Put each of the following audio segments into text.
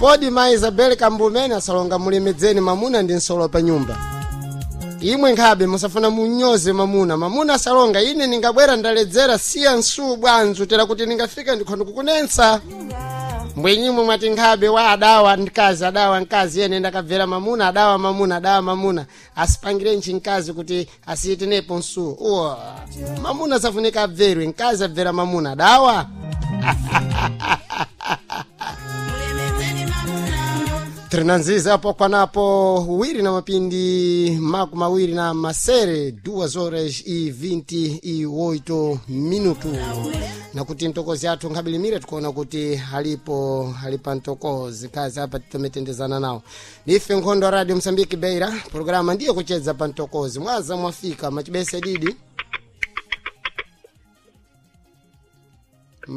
Podi mayi Isabel Kambumene asalonga mulemedzeni mamuna ndi nsolo pa nyumba. Imwe nkhabe musafuna munyoze mamuna. Mamuna asalonga ine ningabwera ndaledzera siya nsuwu bwanzu tera kuti ningafika ndikhondo kukunensa. Mbwenyimwe mwati nkhabe wa adawa mkazi adawa mkazi yene ndakabvera mamuna adawa mamuna adawa mamuna asipangire ntchi mkazi kuti asiyitenepo nsuwu. Uwa mamuna safunika abverwe mkazi abvera mamuna adawa. Trinanziza apo kwanapo wiri na mapindi maku mawiri na masere 2 horas e 28 minuto na kuti mtokozi athu nkhabilimire tikuona kuti alipo alipa mtokozi kazi apa titometendezana nawo nife nkhondo wa radio msambiki beira programa ndiyo kuchedza pa mtokozi mwaza mwafika machibese didi.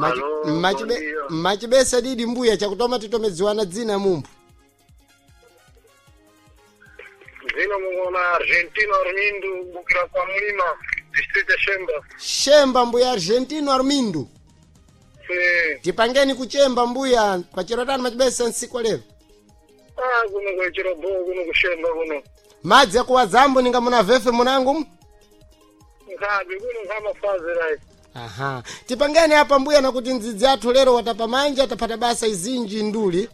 Alo, bom dia. Machibese didi mbuya chakutoma titomedziwana dzina mumphu. Zina mungona Argentino Armindo bukira kwa mlima distrito ya Shemba. Shemba mbuya Argentino Armindo. Si Tipangeni kuchemba mbuya pachero tani machibesa nsiku lero. ah kuno kwa Chirobo kuno kushemba kuno. Madzi akuwa zambo ninga muna vefe munangu. Nkabi kuno kama fazi rai. Aha. Tipangeni apa mbuya na kuti ndzidzi athu lero watapa manja tapata basa izinji nduli.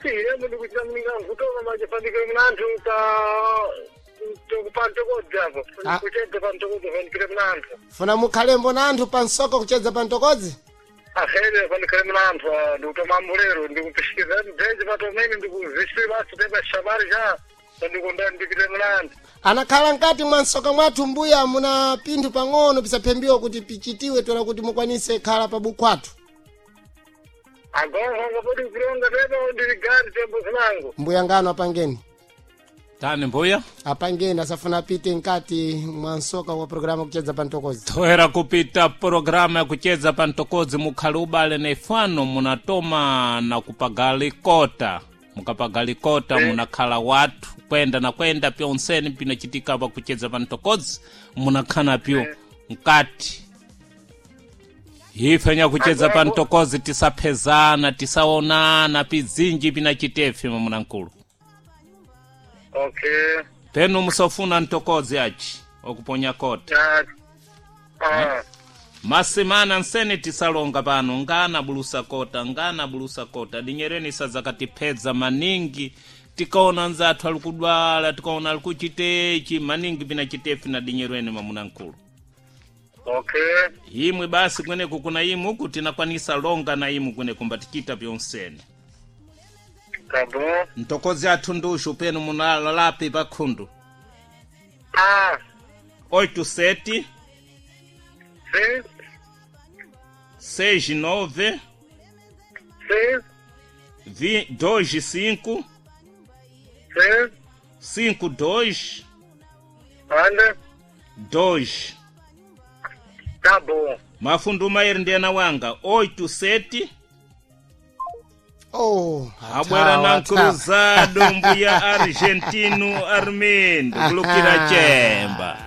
Si yemo ndikuchita mninga kutoka machifandike mnantu ta tukupanto kodzapo. Ah. Kuchedza panto kodza fanikire mnantu. Funa mukhalembo na anthu pansoko kuchedza pantokodzi. Ahele fanikire mnantu ndikutoma mulero ndikupishikiza mdzenje patomene ndikuziswi basi pepa shabari ja ndikonda ndikire mnantu. Anakhala mkati mwa msoka mwathu mbuya muna pinthu pang'ono pisaphembiwa kuti pichitiwe tola kuti mukwanise khala pa bukhwathu. Agongo ngapoti kuronga pepa ndiligari tembo zinango. Mbuya ngano apangeni. Tani mbuya Apangeni asafuna apite mkati mwa msoka wa programa kuchedza pantokozi. toera kupita programu ya kucheza pa ntokodzi mukhali ubale na ifano munatoma na kupagalikota mukapagalikota munakhala wathu kwenda na kwenda pyonseni pinachitika pa kucheza pa ntokodzi munakhana pyo mkati ife nyakucheza pa ntokodzi tisaphezana tisaonana pizinji pinachitefe mamunankulu. Okay. Penu musofuna ntokodzi achi okuponya kota. Ya. Ah. Masimana nsene tisalonga pano ngana bulusa kota ngana bulusa kota dinyereni sadzakatiphedza maningi tikaona nzathu ali kudwala tikaona ali kuchitechi maningi pinachitefi na dinyerweni mamunankulu. Okay. Imwe basi kweneku kuna imwe uku tinakwanisa longa na imwe kweneku mbatichita pyonsene. Tá bom. Ntokozi athu ndushu penu munalalapi pakhundu. Ah. 87 Sim. 69 Sim. 25 Sim. 52 Anda. 2. Tá bom. Mafundu mairi ndiyena wanga 87 Oh, abwera na athawa, athawa. cruzado mbuya Argentino Armindo kulukira chemba.